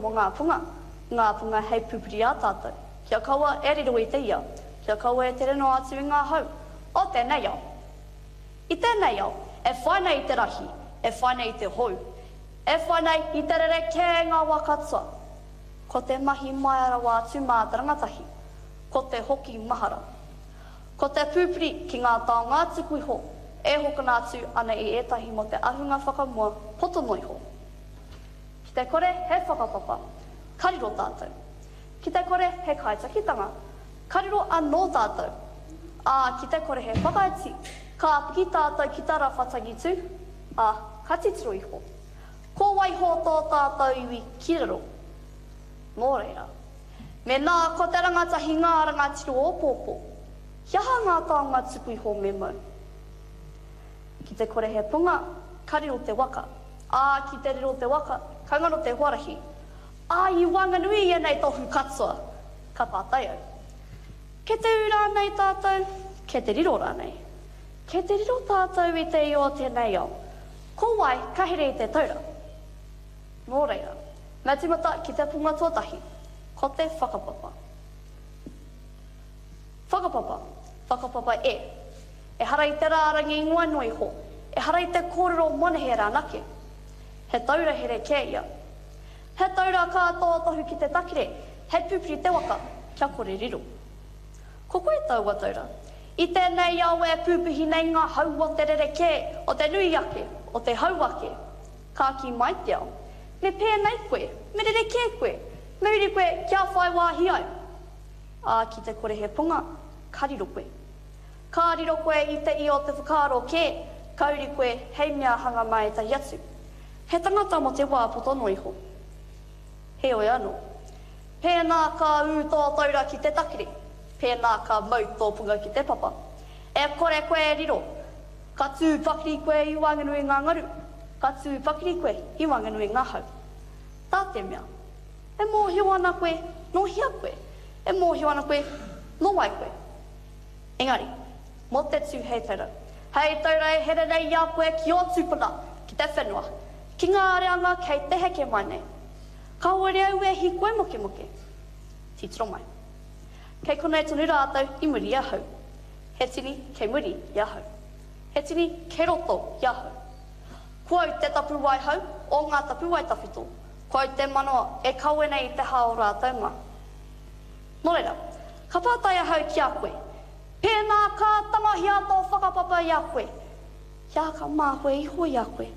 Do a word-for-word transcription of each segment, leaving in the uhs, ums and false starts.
Mō ngā punga, ngā punga hei pupuri i a tātou, kia kaua e riro i te ia, kia kaua e tere noa atu i ngā hau o tēnei ao. I tēnei ao, e whai nei i te rahi, e whai nei i te hou, e whai nei i te rerekē ngā wā katoa. Ko te mahi maia rawa atu mā te rangatahi, ko te hoki mahara. Ko te pupuri ki ngā taonga tuku iho e hokona atu ana i ētahi mō te ahunga whakamua poto noa iho. Ki te kore he whakapapa, ka riro tātou. Ki te kore he kaitakitanga, ka riro anō tātou. Ā, ki te kore he whakaiti, ka piki tātou ki tā Rawha tangitū, ā, ka titiro iho. Ko waiho tō tātou iwi ki raro. Nō reira, mēnā ko te rangatahi ngā rangatira o ōpōpō, he aha ngā taonga tuku iho me mau? Ki te kore he punga, ka riro te waka. Ā, ki te riro te waka, ka ngaro te huarahi. Ā, i waenganui i ēnei tohu katoa, ka pātai au. Kei te ū rānei tātou, kei te riro rānei? Kei te riro tātou i te io o tēnei ao? Ko wai ka here i te taura? Nō reira, me tīmata ki te punga tuatahi, ko te whakapapa. Whakapapa, whakapapa e. Ehara i te rārangi ingoa noa iho, ehara i te kōrero monehe rānake. He taura here kē ia. He taura ka tōtohu ki te takere, hei pupuri te waka, kia kore riro. Ko koe taua taura. I tēnei ao e pūpuhi nei ngā hau o te rerekē, o te nui ake, o te hau ake. Ka kī mai te ao, Me pēnei koe, me rerekē koe, me uri koe kia whai wāhi ai. Ā, ki te kore he punga, ka riro koe. Ka riro koe i te ia o te whakaaro kē, ka uri koe hei mea hanga mā ētahi atu. He tangata mō te wā poto noa iho. Heoi anō. Pēnā ka ū tō taura ki te takere, pēnā ka mau tō punga ki te papa. E kore koe e riro. Ka tū pakiri koe i waenganui i ngā ngaru, ka tū pakiri koe i waenganui i ngā hau. Tā te mea, e mōhio ana koe nō hea koe, e mōhio ana koe nō wai koe. Engari, mō te tū hei taura. Hei taura e here nei i a koe ki ō tūpuna, ki te whenua, ki ngā reanga kei te heke mai nei. Kāore au e hīkoi mokemoke. Titiro mai. Kei konei tonu rātou i muri i ahau. He tini kei muri i ahau. He tini kei roto i ahau. Ko au te tapuwae hou o ngā tapuwae tawhito. Ko au te manawa e kawe nei i te hā o rātou mā. Nō reira, ka pātai ahau ki a koe, pēnā ka tangohia tō whakapapa i a koe, kia ka māhue iho i a koe?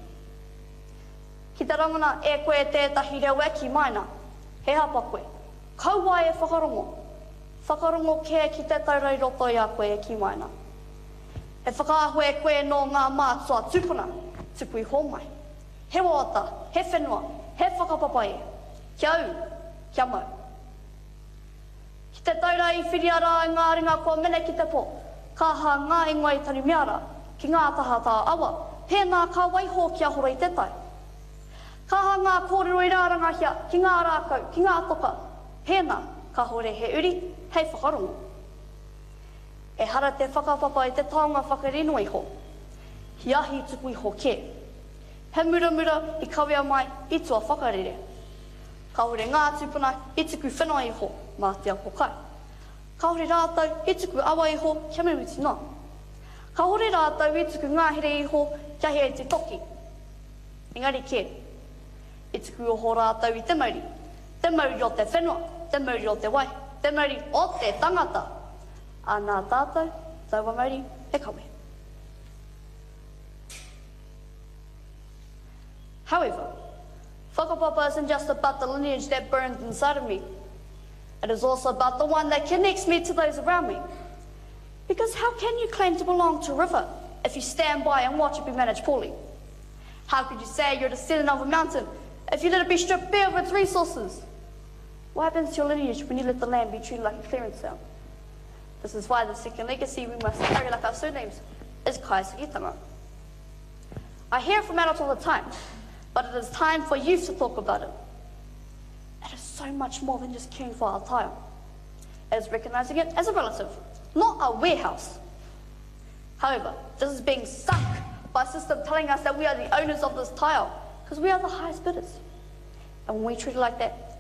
Ki te rangona e koe tētahi reo e kī mai ana, he hapa koe, kaua e whakarongo, whakarongo kē ki te taura i roto i a koe e kī mai ana. He whakaahua e koe nō ngā mātua tūpuna, tuku iho mai. He wawata, he whenua, he whakapapa e. Kia ū, kia mau. Ki te taura i whiria rā e ngā ringa kua mene ki te po, ka aha ngā ingoa i tanumia rā, ki ngā tahatā awa, pēnā ka waiho kia horo i te tai. Ka aha ngā kōrero i rārangahia ki ngā rākau, ki ngā toka, pēnā kāore he uri hei whakarongo. Ehara te whakapapa i te taonga whakarino iho, he ahi tuku iho kē. He muramura i kawea mai i tua whakarere. Kāore ngā tūpuna i tuku whenua iho mā te ako kai. Kāore rātou i tuku awa iho kia mimiti noa. Kāore rātou i tuku ngahere iho kia hē te toki. Engari kē, i tuku oho rātou i te mauri. Te mauri o te whenua, te mauri o te wai, te mauri o te tangata. Ā, nā tātou taua mauri e kawe. However, whakapapa isn't just about the lineage that burns inside of me. It is also about the one that connects me to those around me. Because how can you claim to belong to a river if you stand by and watch it be managed poorly? How could you say you're a descendant of a mountain if you let it be stripped bare of its resources? What happens to your lineage when you let the land be treated like a clearance sale? This is why the second legacy we must carry like our surnames is Kaisakitanga. I hear it from adults all the time, but it is time for youth to talk about it. It is so much more than just caring for our tile. It is recognizing it as a relative, not a warehouse. However, this is being sunk by a system telling us that we are the owners of this tile because we are the highest bidders. And when we treat it like that,